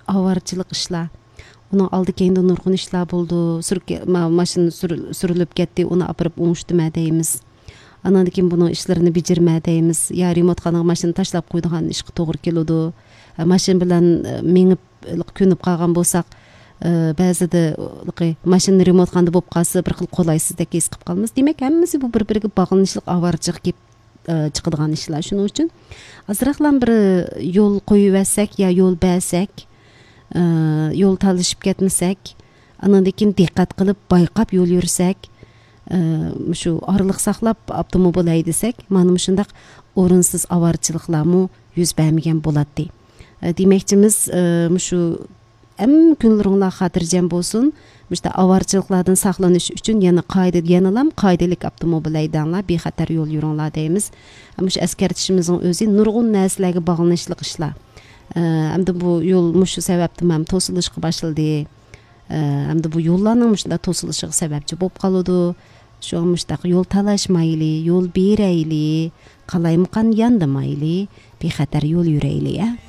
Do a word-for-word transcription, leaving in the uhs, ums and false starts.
ئاۋارىچىلىق ئىشلار. ئۇنىڭ ئالدى كەينىدە نۇرغۇن ئىشلار بولىدۇ. سۈركە-، ما-، ماشىنا سۈر-، سۈرۈلۈپ كەتتى، ئۇنى ئاپىرىپ ئوڭشىتىمە دەيمىز. ئاناندىن كېيىن بۇنىڭ ئىشلىرىنى بېجىرمە دەيمىز. يا رېمونتخانىغا ماشىنا تاشلاپ قويىدىغان ئىشقا توغرا كېلىدۇ. ماشىنا بىلەن، ئە، مېڭىپ، كۆنۈپ قالغان بولساق، ئە، بەزىدە، ئە، ماشىنا رېمونتخانىدا بولۇپ قالسا، بىر خىل قولايسىزدەك ھېس قىلىپ قالىمىز. دېمەك، ھەممىسى بۇ بىر-بىرىگە باغلىنىشلىق ئاۋارىچىلىق كېلىپ، ئە، چىقىدىغان ئىشلار. شۇنىڭ ئۈچۈن ئازراقلا بىر يول قويۇۋەرسەك يا يول بەرسەك، ئە، يول تالىشىپ كەتمىسەك، ئانىڭدىن كېيىن دىققەت قىلىپ، بايقاپ يول يۈرسەك، ئە، مۇشۇ ئارىلىق ساقلاپ ئاپتوموبىل ھەيدىسەك، مانا مۇشۇنداق ئورۇنسىز ئاۋارىچىلىقلارمۇ يۈز بەرمىگەن بولاتتى. ئە، دېمەكچىمىز، ئە، مۇشۇ ھەممە كۈنلىرىڭلار خاتىرجەم بولسۇن. مۇشۇنداق ئاۋارىچىلىقلاردىن ساقلىنىش ئۈچۈن يەنە قائىدە-، يەنىلام قائىدىلىك ئاپتوموبىل ھەيدەڭلار، بىخەتەر يول يۈرۈڭلار دەيمىز. مۇشۇ ئەسكەرتىشىمىزنىڭ ئۆزى نۇرغۇن نەرسىلەرگە باغلىنىشلىق ئىشلار. ئە، ئەمدى بۇ يول مۇشۇ سەۋەبتىن ھەم توسۇلۇشقا باشلىدى. ئە، ئەمدى بۇ يوللارنىڭ مۇشۇنداق توسۇلۇشىغا سەۋەبچى بولۇپ قالىدۇ. شۇڭا مۇشۇنداق يول تالاشمايلى، يول بېرەيلى، قالايمىقان ياندىمايلى، بىخەتەر يول يۈرەيلى، ئە.